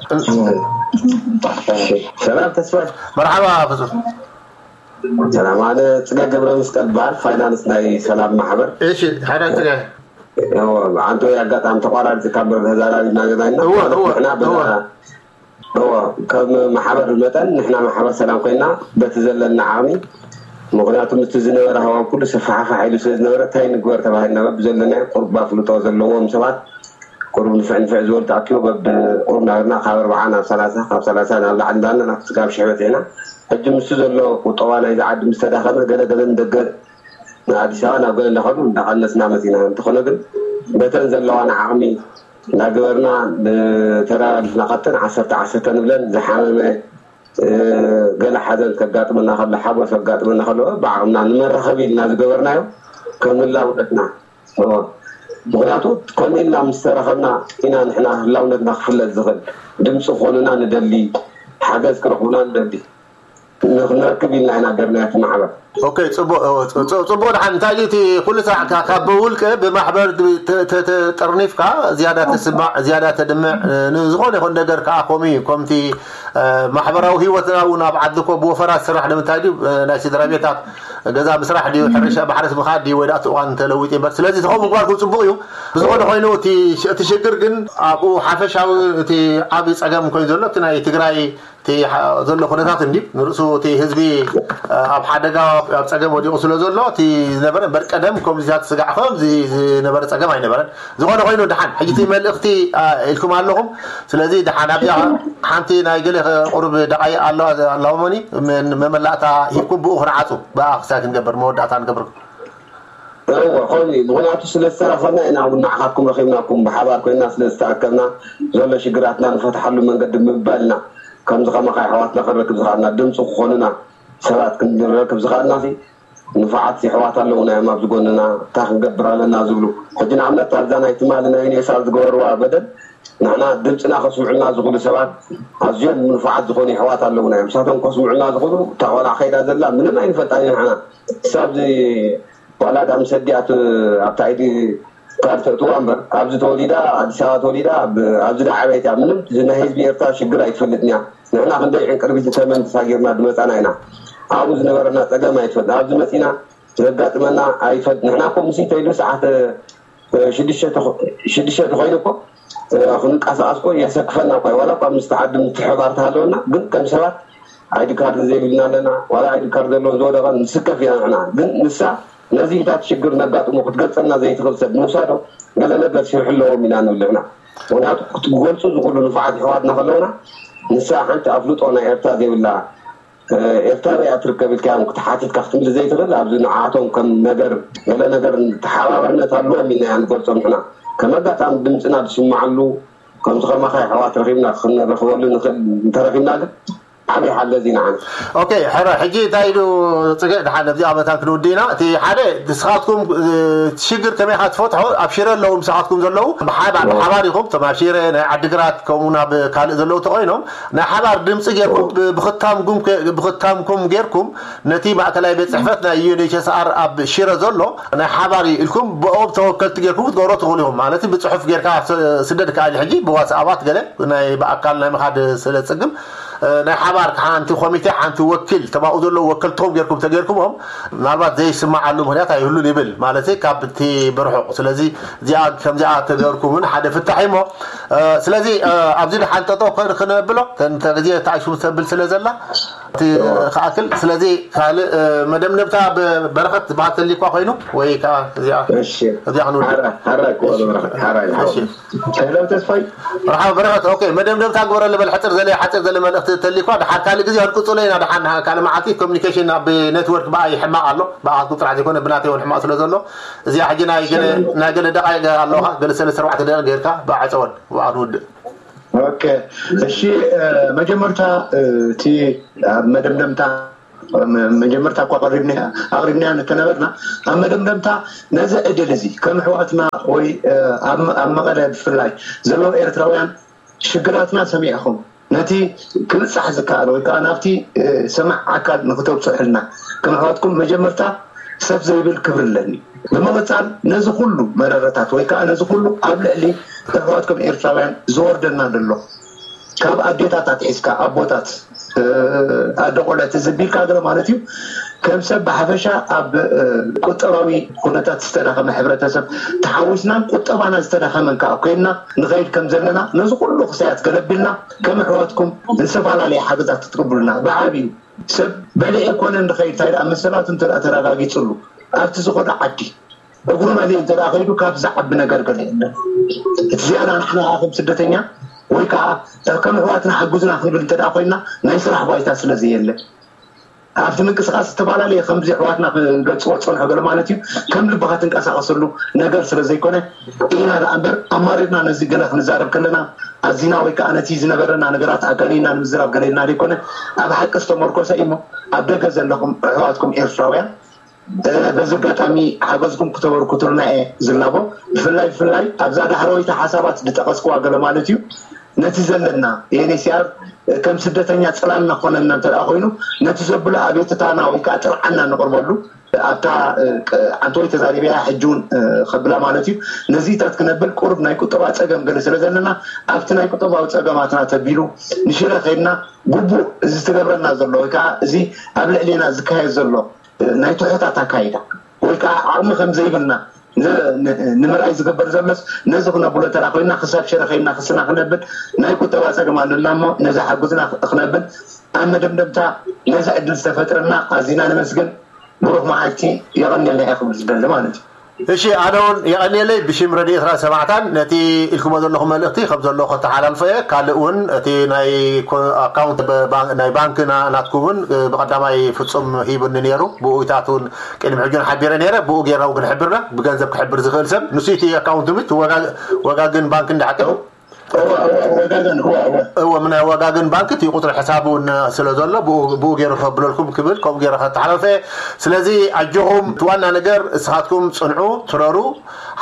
እሺ። ሰላም ተስፋ። መርሓባ ፍጹም። ሰላም፣ ኣነ ጽገ ገብረ መስቀል በሃል፣ ፋይናንስ ናይ ሰላም ማሕበር። እሺ፣ ሓዳን ጽገ። እዎ፣ ኣንተ ኣጋጣሚ ተቋራሪጽካ እምበር ተዛራሪብና ጌና ኢና። እዎ፣ እዎ፣ ንሕና በዛ እዎ። እዎ፣ ከም ማሕበር መጠን ንሕና ማሕበር ሰላም ኮይና በቲ ዘለና ዓቕሚ፣ ምኽንያቱ ምስቲ ዝነበረ ሃዋው ኩሉ ሰፋሕፋሕ ኢሉ ስለ ዝነበረ፣ እንታይ ንግበር ተባሂልና በብዘለናዮ ቁሩብ ኣፍልጦ ዘለዎም ሰባት ቁሩብ ንፍዕ ንፍዕ ዝበሉ ተኣኪቦ በብ ቁሩብ ናብርና ካብ ኣርብዓ ናብ ሰላሳ፣ ካብ ሰላሳ ናብ ላዕሊ እንዳለና ክሳብ ሽሕ በጺሕና። ሕጂ ምስቲ ዘሎ ቁጠባ ናይዚ ዓዲ ምስ ተዳኸመ፣ ገለ ገለ ንደገ ንኣዲስ ኣበባ ናብ ገለ እንዳኸዱ እንዳቐነስና መጺና። እንተኾነ ግን በተን ዘለዋና ዓቕሚ እንዳገበርና ንተደራሪፍና፣ ካብተን ዓሰርተ ዓሰርተ ንብለን ዝሓመመ፣ እ፣ ገለ ሓዘን ከጋጥመና ከሎ፣ ሓጎስ ከጋጥመና ከሎ፣ ብዓቕምና ንመራኸቢ ኢልና ዝገበርናዮ ከም ህላውነትና። እዎ። ምኽንያቱ ከምኡ ኢልና ምስ ተራኸብና ኢና ንሕና ህላውነትና ክፍለጥ ዝኽእል። ድምፂ ክኾኑና ንደሊ፣ ሓገዝ ክረኽቡና ንደሊ። ንኽንረክብ ኢልና ኢና ገርናዮ እቲ ማሕበር። ኦኬ፣ ጽቡቕ፣ እ፣ ጽ-፣ ጽ-፣ ጽቡቕ። ደሓን እንታይ ድዩ እቲ ኩሉ ስራሕ ካ-፣ ካብ ብውልቀ ብማሕበር ድ-፣ ተ-፣ ተ-፣ ተጠርኒፍካ ዝያዳ ተስማዕ፣ ዝያዳ ተድምዕ፣ እ፣ ንዝኾነ ይኹን ነገር ከኣ ከምኡ እዩ። ከምቲ፣ እ፣ ማሕበራዊ ህይወትና እውን ኣብ ዓዲ እኮ ብወፈራ ዝስራሕ ንምንታይ ድዩ? እ፣ ናይ ስድራ ቤታት ገዛ ምስራሕ ድዩ፣ ሕርሻ ማሕረስ ምኻድ ድዩ፣ ወይ ደኣ እቲ እዋን ተለዊጡ እምበር። ስለዚ ከምኡ ምግባርኩም ጽቡቕ እዩ። ብዝኾነ ኮይኑ እቲ ሽ-፣ እቲ ሽግር ግን ኣብኡ ሓፈሻዊ እቲ ዓቢ ጸገም ኮይኑ ዘሎ እቲ ናይ ትግራይ እቲ ሓ-፣ ዘሎ ኩነታት እንድዩ ንርእሱ እቲ ህዝቢ፣ እ፣ ኣብ ሓደጋ ኣብ ጸገም ወዲቑ ስለ ዘሎ እቲ ዝነበረ እምበር ቀደም ከምዚታት ስጋዕ ከምዚ ዝነበረ ጸገም ኣይነበረን። ዝኾነ ኮይኑ ደሓን ሕጂ እቲ መልእኽቲ፣ እ፣ ኢልኩም ኣለኹም። ስለዚ ደሓን ኣብዚኣ ሓንቲ ናይ ገለ ቁሩብ ደቓይቕ ኣለዋ፣ ኣለዋ እሞኒ መን-፣ መመላእታ ሂብኩም ብኡ ክንዓጹ ብኣ ክሳይ ክንገብር መወዳእታ ንገብር። እወ፣ ከምኡ እዩ። ምኽንያቱ ስለ ዝተራኸብና ኢና እውን ንዓኻትኩም ረኺብናኩም፣ ብሓባር ኮይና ስለ ዝተኣከብና ዘሎ ሽግራትና ንፈትሓሉ መንገዲ ምባልና ከምዚ ከማኻ ኣሕዋትና ክንረክብ ዝኸኣልና፣ ድምፂ ክኾኑና ሰባት ክንረክብ ዝኸኣልና ሲ ንፉዓት የሕዋት ኣለዉና እዮም ኣብዚ ጎንና፣ እንታይ ክንገብር ኣለና ዝብሉ። ሕጂ ንኣብነት ኣብዛ ናይ ትማሊ ናይ ዩኔሳ ዝገበርዋ በደል ንሕና ድምፅና ከስምዑልና ዝኽእሉ ሰባት ኣዝዮም ንፉዓት ዝኾኑ የሕዋት ኣለዉና እዮም። ንሳቶም ከስምዑልና ዝኽእሉ እታ ቆልዓ ከይዳ ዘላ ምንም ኣይንፈልጣን ኢና ንሕና። ክሳብ እዚ ዋላ ዳ ምስ ኣዲኣ ት-፣ ኣብታ ኣይዲ ካርድ ተእትዋ እምበር፣ ኣብዚ ተወሊዳ፣ ኣዲስ ኣበባ ተወሊዳ፣ ኣብ-፣ ኣብዚ ዳ ዓበየት እያ። ምንም እዚ ናይ ህዝቢ ኤርትራ ሽግር ኣይትፈልጥን እያ። ንሕና ክንደይ ዕንቅርቢት ተመን ተሳጊርና ዝመጻና ኢና። ኣብኡ ዝነበረና ጸገም ኣይትፈልጥን። ኣብዚ መጺና ዘጋጥመና ኣይፈልጥ። ንሕና እኮ ምሲ ተይሉ ሰዓት፣ እ፣ ሽዱሽተ ተኾ-፣ ሽዱሽተ ተኾይኑ እኮ፣ እ፣ ክንንቀሳቐስ እኮ የሰክፈና እኮ። ዋላ እኳ ምስ ተዓዲ ምትሕባር ተሃለወና፣ ግን ከም ሰባት ኣይዲ ካርድ ዘይብልና ኣለና። ዋላ ኣይዲ ካርድ ዘለዎ ዝወደቐ ንስከፍ ኢና ንሕና። ግን ንሳ ነዚህታት ሽግር ነጋጥሞ ክትገልጸልና ዘይትኽእል ሰብ ምውሳዶ ገለ ነገር ሽርሒ ኣለዎም ኢና ንብል ንሕና። ምኽንያቱ ክትገልጹ ዝኽእሉ ንፉዓት ኣሕዋትና ከለውና፣ ንሳ ሓንቲ ኣፍልጦ ናይ ኤርትራ ዘይብላ፣ እ፣ ኤርትራ ኣበይ እያ ትርከብ ኢልካ እዮም ክትሓቲትካ ክትምልስ ዘይትኽእል። ኣብዚ ንዓቶም ከም ነገር፣ ገለ ነገር ተሓባባርነት ኣለዎም ኢልና ኢና ንገልጾም ንሕና። ከም ኣጋጣሚ ድምጽና ዝስማዓሉ፣ ከምዚ ከማኻ ኣሕዋት ረኺብና ክንረኽበሉ ንኽእል እንተረኺብና ግን፣ ዓብይ ሓገዝ እዩ ንዓና። ኦኬ፣ ሕረ፣ ሕጂ እንታይ ኢሉ ጽገ ድሓን ነዚ ኣመታን ክንውድእ ኢና። እቲ ሓደ ንስኻትኩም፣ እ፣ ሽግር ከመይ ኢኻ ትፈትሖ? ኣብ ሽረ ኣለዉ ምሳኻትኩም ዘለዉ ብሓባ-፣ ብሓባር ኢኹም፣ እቶም ኣብ ሽረ፣ ናይ ዓዲግራት፣ ከምኡ ናብ ካልእ ዘለዉ ተኾይኖም ናይ ሓባር ድምጺ ጌርኩም ብ-፣ ብኽታምኩም ከ-፣ ብኽታምኩም ጌርኩም ነቲ ማእከላይ ቤት ጽሕፈት ናይ ዩ ኤን ኤች ኤስ ኣር ኣብ ሽረ ዘሎ ናይ ሓባር እዩ ኢልኩም ብኦም ተወከልቲ ጌርኩም ክትገብሮ ትኽእሉ ኢኹም። ማለት ብጽሑፍ ጌርካ ስ-፣ ስደድ ከኣል ሕጂ ብዋትስኣባት ገለ ናይ ብኣካል ናይ ምኻድ ስለ ጽግም፣ እ፣ ናይ ሓባር ሓንቲ ኮሚቴ ሓንቲ ወኪል ተባኡ ዘለዉ ወከልትኹም ጌርኩም ተጌርኩሞም ምናልባት ዘይስማዓሉ ምኽንያት ኣይህሉን ይብል ማለት ካብ እቲ ብርሑቕ። ስለዚ እዚኣ ከምዚኣ ተገርኩምን ሓደ ፍታሕ እሞ፣ እ፣ ስለዚ፣ እ፣ ኣብዚ ድሓን ጠጠው ከ-፣ ክነብሎ ተን-፣ ተን-፣ ግዜ ተኣሽሙ ተብል ስለ ዘላ እቲ ክኣክል። ስለዚ ካልእ፣ እ፣ መደምደምታ ብ-፣ በረኸት ዝበሃል ተሊኳ ኮይኑ ወይ ከዓ እዚኣ፣ እሺ። እዚኣ ክንውድእ። ሓራ፣ ሓራ ይኮ በረኸት፣ ሓራ ይኮ። እሺ። ሄሎ ተስፋይ። መርሓባ በረኸት፣ ኦኬ፣ መደምደምታ ግበረሉ በል፣ ሕጽር ዘለ፣ ሓጺር ዘለ መልእኽቲ ተሊኳ፣ ድሓር ካልእ ግዜ ክንቅጽሎ ኢና፣ ድሓን ካልእ መዓልቲ ኮሚኒኬሽን ኣብ ኔትወርክ ብኣይ ሕማቕ ኣሎ፣ ብኣኻትኩም ጥራሕ ዘይኮነ ብናተይ እውን ሕማቕ ስለ ዘሎ፣ እዚኣ ሕጂ ናይ ገለ፣ ናይ ገለ ደቓይቕ ኣለኻ፣ ገለ ሰለስተ ኣርባዕተ ደቂቕ ጌርካ ብኣዕጸወን፣ ብኣ ንውድእ። ኦኬ፣ እሺ፣ እ፣ መጀመርታ፣ እ፣ እቲ ኣብ መደምደምታ መ-፣ መጀመርታ እኳ ኣቕሪብና-፣ ኣቕሪብናዮ እንተነበርና፣ ኣብ መደምደምታ ነዚ ዕድል እዚ ከም ኣሕዋትና ወይ፣ እ፣ ኣብ፣ ኣብ መቐለ ብፍላይ ዘለዉ ኤርትራውያን ሽግራትና ሰሚዕኹም፣ ነቲ ክብጻሕ ዝከኣል ወይ ከኣ ናብቲ፣ እ፣ ሰማዕ ኣካል ንክተብጽሑልና ከም ኣሕዋትኩም መጀመርታ ሰፍ ዘይብል ክብሪ ኣለኒ። ብምቕጻል ነዚ ኩሉ መረረታት ወይ ከኣ ነዚ ኩሉ ኣብ ልዕሊ ኣሕዋትኩም ኤርትራውያን ዝወርደና ዘሎ ካብ ኣዴታት ኣትሒዝካ ኣቦታት፣ እ፣ ኣደ ቆለት እዚ ቢልካ ገለ ማለት እዩ። ከም ሰብ ብሓፈሻ ኣብ፣ እ፣ ቁጠባዊ ኩነታት ዝተዳኸመ ሕብረተሰብ ተሓዊስናን ቁጠባና ዝተዳኸመን ከኣ ኮይንና ንኸይድ ከም ዘለና ነዚ ኩሉ ክሳያት ገለ ቢልና ከም ኣሕዋትኩም ዝተፈላለየ ሓገዛት ክትቅብሉና ብዓብዩ ሰብ በሊዑ ኣይኮነን ዝኸይድ፣ እንታይ ደኣ መሰላቱ እንተ ደኣ ተረጋጊጽሉ ኣብቲ ዝኾነ ዓዲ እግሩ መሊኡ እንተ ደኣ ከይዱ ካብ ዝዓቢ ነገር ገለ የለን። እቲ ዝያዳ ንሕና ከኣ ከም ስደተኛ ወይ ከኣ ከም ኣሕዋትና ሓግዙና ክንብል እንተ ደኣ ኮይንና ናይ ስራሕ ባይታ ስለ ዘየለ ኣብቲ ምንቅስቃስ ዝተፈላለየ ከምዚ ኣሕዋትና ክገልጽዎ ዝጸንሑ ገለ ማለት እዩ ከም ልብኻ ትንቀሳቐሰሉ ነገር ስለ ዘይኮነ ኢና ደኣ እምበር ኣማሪርና ነዚ ገለ ክንዛረብ ከለና ኣዚና ወይ ከኣ ነቲ ዝነበረና ነገራት ኣጋኒና ንምዝራብ ገለ ኢልና ዘይኮነ ኣብ ሓቂ ዝተመርኮሰ እዩ እሞ ኣብ ደገ ዘለኹም ኣሕዋትኩም ኤርትራውያን እ፣ በዚ ኣጋጣሚ ሓገዝኩም ክተበርክቱልና እየ ዝላቦ። ብፍላይ፣ ብፍላይ ኣብዛ ዳሕረወይቲ ሓሳባት ዝጠቐስክዋ ገለ ማለት እዩ፣ ነቲ ዘለና ዩ ኤን ኤች ሲ ኣር ከም ስደተኛ ጽላልና ክኾነና እንተ ደኣ ኮይኑ፣ ነቲ ዘብሎ ኣቤቱታና ወይ ከኣ ጥርዓንና ነቕርበሉ፣ ኣብታ፣ እ፣ ቅ-፣ ዓንተወይ ተዛሪበያ፣ ሕጂ እውን፣ እ፣ ከብላ ማለት እዩ። ነዚታት ክነብል ቁሩብ ናይ ቁጠባ ጸገም ገለ ስለ ዘለና፣ ኣብቲ ናይ ቁጠባዊ ጸገማትና ተቢሉ ንሽረ ከይድና ግቡእ እዚ ትገብረና ዘሎ ወይ ከኣ እዚ ኣብ ልዕሌና ዝካየድ ዘሎ ናይ ትሑታት ኣካይዳ ወይ ከዓ ዓቕሚ ከም ዘይብልና ን-፣ ን-፣ ንምርኣይ ዝግበር ዘሎስ ነዚ ክነብሎ እንተ ኮይንና ክሳብ ሽረ ከይድና ክስና ክነብል ናይ ቁጠባ ጸገም ኣለና እሞ ነዚ ሓጉዝና ክነብል ኣብ መደምደምታ ነዚ ዕድል ዝተፈጥረና ኣዚና ነመስግን። ብሩኽ መዓልቲ። የቐንየልና እየ ክብል ዝደሊ ማለት እዩ። እሺ፣ ኣነ እውን የቐንየለይ ብሽም ረድኤት ራእሲ ሰማዕታን ነቲ ኢልኩሞ ዘለኹም መልእኽቲ ከም ዘሎ ከተሓላልፎ እየ። ካልእ እውን እቲ ናይ ኮ-፣ ኣካውንት በ-፣ ባን-፣ ናይ ባንክ ና-፣ ናትኩም እውን፣ እ፣ ብቐዳማይ ፍጹም ሂቡኒ ነይሩ። ብኡ ኢታት እውን ቅድሚ ሕጂ እውን ሓቢረ ነይረ። ብኡ ጌርና እውን ክንሕብርና ብገንዘብ ክሕብር ዝኽእል ሰብ ንሱ እቲ ኣካውንት ምት ወጋ-፣ ወጋግን ባንክ እንዳሓቀ እወ፣ እወ፣ ወጋገን፣ እወ፣ እወ። እወ፣ ምናይ ወጋገን ባንክ እቲ ቁጽሪ ሕሳብ እውን ስለ ዘሎ፣ ብኡ፣ ብኡ ገይሩ ከብለልኩም ክብል፣ ከምኡ ገይረ ከተሓላልፈ። ስለዚ ኣጆኹም፣ እቲ ዋና ነገር እስኻትኩም ጽንዑ፣ ትረሩ።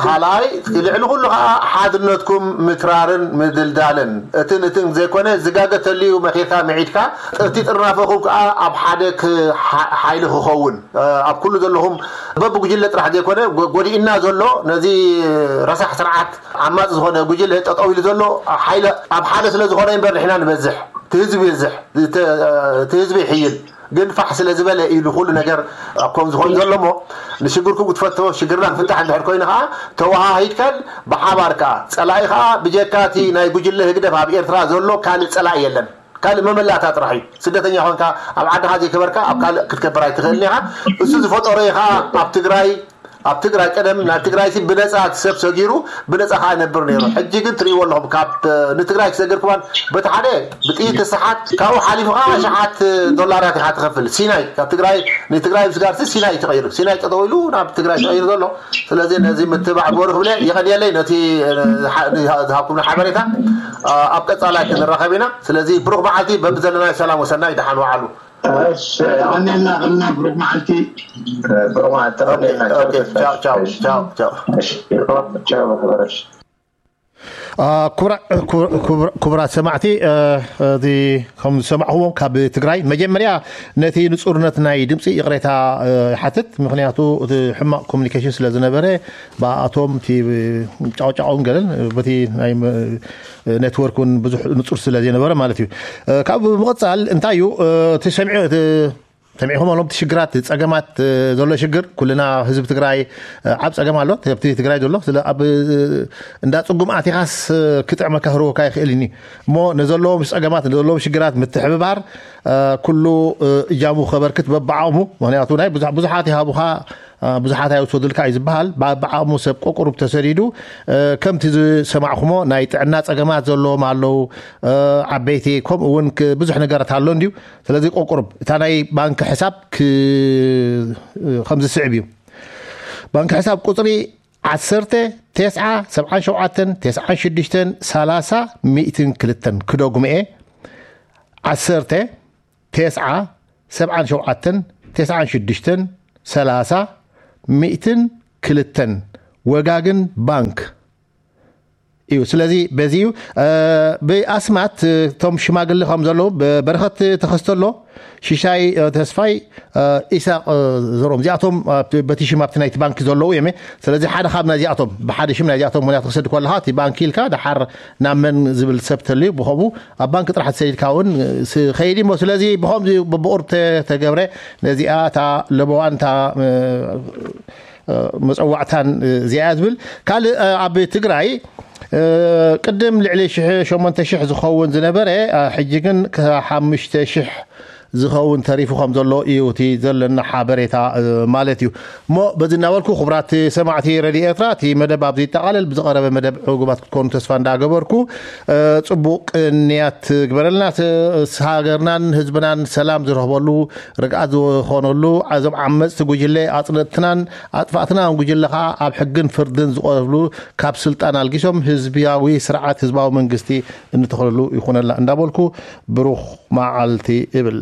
ካልኣይ፣ ልዕሊ ኩሉ ኸኣ ሓድነትኩም ምትራርን ምድልዳልን። እትን፣ እትን ዘይኮነ፣ ዝጋገ ተልዩ መኺርካ ምዒድካ፣ እቲ ጥርናፈኹም ከኣ ኣብ ሓደ ክ-፣ ሓ-፣ ሓይሊ ክኸውን፣ ኣብ ኩሉ ዘለኹም በብጉጅለ ጥራሕ ዘይኮነ፣ ጎ-፣ ጎዲእና ዘሎ ነዚ ረሳሕ ስርዓት ዓማጺ ዝኾነ ጉጅለ ጠጠው ኢሉ ዘሎ ሓይሊ ኣብ ሓደ ስለ ዝኾነ እምበር ንሕና ንበዝሕ፣ እቲ ህዝቢ ይብዝሕ፣ እቲ፣ እቲ ህዝቢ ይሕይል። ግን ፋሕ ስለ ዝበለ እዩ ንኹሉ ነገር ኣብ ከም ዝኾን ዘሎ እሞ ንሽግርኩም ክትፈትዎ ሽግርና ክፍታሕ እንድሕር ኮይኑ ከዓ ተወሃሂድካን ብሓባር ከዓ ጸላኢ ከዓ ብጀካ እቲ ናይ ጉጅለ ህግደፍ ኣብ ኤርትራ ዘሎ ካልእ ጸላኢ የለን። ካልእ መመላእታ ጥራሕ እዩ። ስደተኛ ኮንካ ኣብ ዓድኻ ዘይከበርካ ኣብ ካልእ ክትከብር ኣይትኽእልን ኢኻ። እሱ ዝፈጠሮ እዩ ከዓ ኣብ ትግራይ ኣብ ትግራይ ቀደም ናብ ትግራይ ሲ ብነፃ እቲ ሰብ ሰጊሩ ብነፃ ከዓ ነብር ነይሩ። ሕጂ ግን ትርእይዎ ኣለኹም፣ ካብ ንትግራይ ክሰግር ክማን በቲ ሓደ ብጥይት ተሰሓት፣ ካብኡ ሓሊፉ ከዓ ሸሓት ዶላራት ኢኻ ትኸፍል። ሲናይ ካብ ትግራይ ንትግራይ ምስጋር ሲ ሲናይ እዩ ተቐይሩ። ሲናይ ጠጠው ኢሉ ናብ ትግራይ ተቐይሩ ዘሎ። ስለዚ ነዚ ምትባዕ ግበሩ ክብለ የቐንየለይ ነቲ ዝሃብኩምና ሓበሬታ። ኣብ ቀፃላይ ክንራኸብ ኢና። ስለዚ ብሩኽ መዓልቲ፣ በብዘለናዮ ሰላም ወሰናይ ደሓን ዋዓሉ። እሺ፣ ቀኒልና ቀና ብሩክ መዓልቲ። ብሩክ መዓልቲ። ክቡራት ሰማዕቲ፣ እዚ ከም ዝሰማዕኹዎም ካብ ትግራይ፣ መጀመርያ ነቲ ንፁርነት ናይ ድምፂ ይቕሬታ ይሓትት። ምክንያቱ እቲ ሕማቕ ኮሚኒኬሽን ስለ ዝነበረ፣ ብኣቶም እቲ ጫውጫውን ገለን በቲ ናይ ኔትወርክ እውን ብዙሕ ንፁር ስለ ዘይነበረ ማለት እዩ። ካብ ብምቕፃል እንታይ እዩ እቲ ሰሚዑ ሰሚዕኹም ኣለኹም፣ እቲ ሽግራት፣ ጸገማት ዘሎ ሽግር ኩልና ህዝቢ ትግራይ ኣብ ጸገም ኣሎ። ኣብቲ ትግራይ ዘሎ ስለ ኣብ እንዳ ጽጉም ኣቲኻስ ክጥዕመካ ክህርወካ ይኽእል እኒ እሞ፣ ነዘለዎም ጸገማት፣ ነዘለዎም ሽግራት ምትሕብባር ኩሉ እጃሙ ከበርክት በብዓቕሙ። ምክንያቱ ናይ ብዙሓት ይሃቡኻ፣ ብዙሓት ኣይውሰዱልካ እዩ ዝበሃል። በብዓቕሙ ሰብ ቆቁሩብ ተሰዲዱ፣ ከምቲ ዝሰማዕኹሞ ናይ ጥዕና ጸገማት ዘለዎም ኣለዉ፣ ዓበይቲ፣ ከምኡ እውን ብዙሕ ነገራት ኣሎ እንድዩ። ስለዚ ቆቁሩብ እታ ናይ ባንክ ሕሳብ ከም ዝስዕብ እዩ። ባንክ ሕሳብ ቁፅሪ ዓሰርተ፣ ተስዓ፣ ሰብዓን ሸውዓተን፣ ተስዓን ሽዱሽተን፣ ሰላሳ፣ ሚእትን ክልተን። ክደጉምኤ፣ ዓሰርተ፣ ተስዓ፣ ሰብዓን ሸውዓተን፣ ተስዓን ሽዱሽተን፣ ሰላሳ፣ ሚእትን ክልተን። ወጋግን ባንክ እዩ። ስለዚ በዚ እዩ። ብኣስማት እቶም ሽማግሌ ከም ዘለዉ፣ በረኸት ተኸስተ ኣሎ፣ ሽሻይ ተስፋይ፣ ኢሳቅ ዘሮም፣ እዚኣቶም በቲ ሽም ኣብቲ ናይቲ ባንክ ዘለዉ እዮም። ስለዚ ሓደ ካብ ናይዚኣቶም፣ ብሓደ ሽም ናይዚኣቶም ምክንያት ክሰድ ከለካ እቲ ባንክ ኢልካ ደሓር ናብ መን ዝብል ሰብ ተልዩ፣ ብኸምኡ ኣብ ባንክ ጥራሕ ተሰዲድካ እውን ኸይድ እሞ። ስለዚ ብኸምዚ ብቁርብ ተገብረ፣ ነዚኣ እታ ለበዋን እታ መፀዋዕታን እዚኣ ዝብል ካልእ ኣብ ትግራይ ቅድም ልዕሊ ሽሕ ሸሞንተ ሽሕ ዝኸውን ዝነበረ፣ ሕጂ ግን ሓሙሽተ ሽሕ ዝኸውን ተሪፉ ከም ዘሎ እዩ እቲ ዘለና ሓበሬታ ማለት እዩ። እሞ በዚ እናበልኩ፣ ክቡራት ሰማዕቲ ሬድዮ ኤርትራ፣ እቲ መደብ ኣብዚ ይጠቓለል። ብዝቐረበ መደብ ዕጉባት ክትኮኑ ተስፋ እንዳገበርኩ፣ ጽቡቕ ቅንያት ግበረልና። ሃገርናን ህዝብናን ሰላም ዝረኽበሉ፣ ርግኣት ዝኾነሉ፣ እዞም ዓመጽቲ ጉጅለ ኣጽነትናን ኣጥፋእትናን ጉጅለ ከዓ ኣብ ሕግን ፍርድን ዝቐርብሉ፣ ካብ ስልጣን ኣልጊሶም ህዝብያዊ ስርዓት፣ ህዝባዊ መንግስቲ እንተኽለሉ ይኹነልና እንዳበልኩ፣ ብሩኽ መዓልቲ እብል።